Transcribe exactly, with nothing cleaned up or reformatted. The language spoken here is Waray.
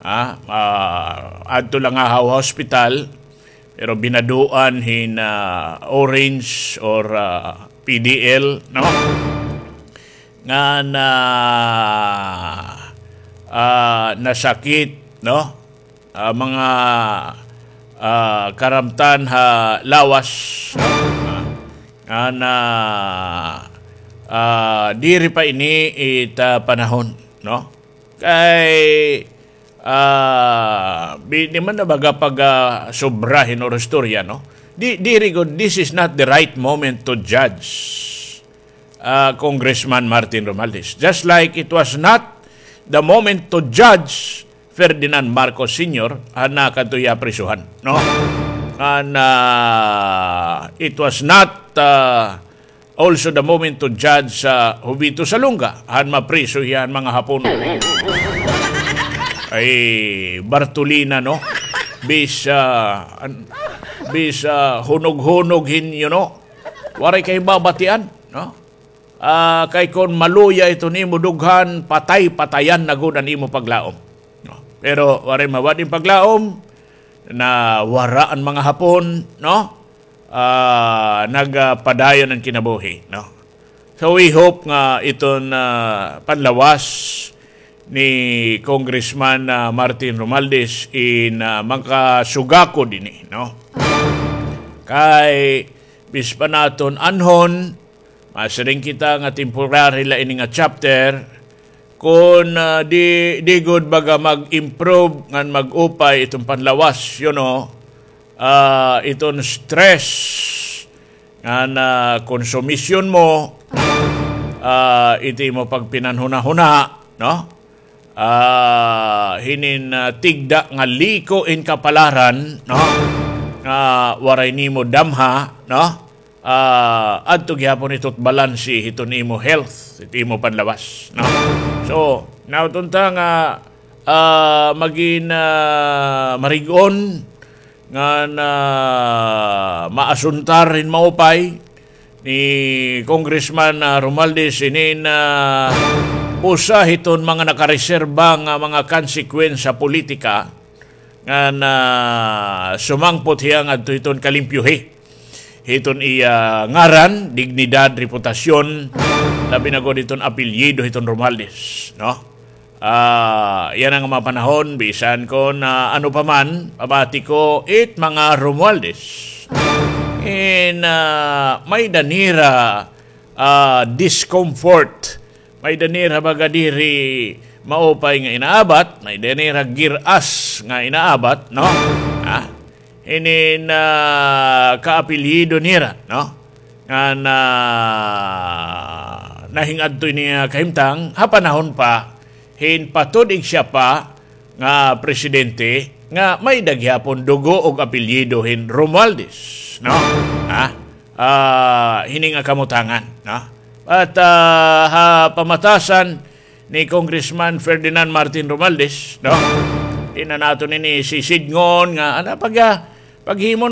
ah, ah, adto la ha hospital, pero binaduan hin, ah, orange or, ah, P D L, no? Ngan, ah, nasakit, no? Ah, mga, ah, karamtan ha lawas, no? Ah, ngan, ah, diri pa ini it, ah, panahon, no? Kay, ah, bi-, di man na baga pag, ah, sobra hin oro istorya, no? Di, diri gud, this is not the right moment to judge, ah, Congressman Martin Romualdez. Just like it was not the moment to judge Ferdinand Marcos Senior, han nakadto hiya prisuhan, no? And, ah, it was not, ah, also the moment to judge, ah, Jovito Salonga, han mapriso hiya han mga Hapon. Ay, Bartolina, no? Bis, ah, an-, bis, ah, hunog-hunog hin, you know, waray kay babatian, no? Ah, kay kon maluya iton imo dughan, patay-patayan na gud an imo paglaom. No? Pero waray mawad in paglaom, nawara an mga Hapon, no? Ah, nagpadayon an kinabuhi, no? So we hope nga iton, ah, panlawas ni Congressman, ah, Martin Romualdez in, ah, makasugakod ini, no? Kay bis pa naton anhon, masiring kita nga temporary la ini nga chapter, kon, ah, di, di gud baga mag-improve ngan mag-upay iton panlawas, you know, ah, iton stress ngan, ah, konsumisyon mo, ah, iti imo pagpinanhunahuna, no? Ah, hinin, ah, tigda nga liko in kapalaran, no? Nga waray nimo damha, no? Ah, adto gihapon ito't balanse hiton imo health, hit imo panlawas, no? So, naot unta nga, ah, magin, ah, marig-on ngan, ah, maasuntar hin maupay ni Congressman, ah, Romualdez inin, ah, usa hiton mga nakareserba nga mga konsekwensya politika ngan, ah, sumangpot hiya ngadto hiton kalimpyohi hiton iya ngaran, dignidad, reputasyon, labi na gud hiton apelyido hiton Romualdez, no? Ah, yana nga mga panahon, bisan kon, ah, ano pa man, pamati ko, it mga Romualdez. In, ah, may-ada nira, ah, discomfort. May-ada nira baga diri maupay nga inaabat, may-ada nira gir-as nga inaabat, no? Ah, hinin, ah, kaapelyido nira, no? Ngan, ah, nahing-adto ini nga kahimtang, ha panahon pa hin patud-ig siya pa nga presidente, nga may-ada gihapon dugo ug apelyido hin Romualdez, no? Ha? Ah, hini nga kamutangan, no? At, ah, ha pamatasan ni Congressman Ferdinand Martin Romualdez, no? Di na naton ini sisidngon nga, ano, pag, ah, paghimo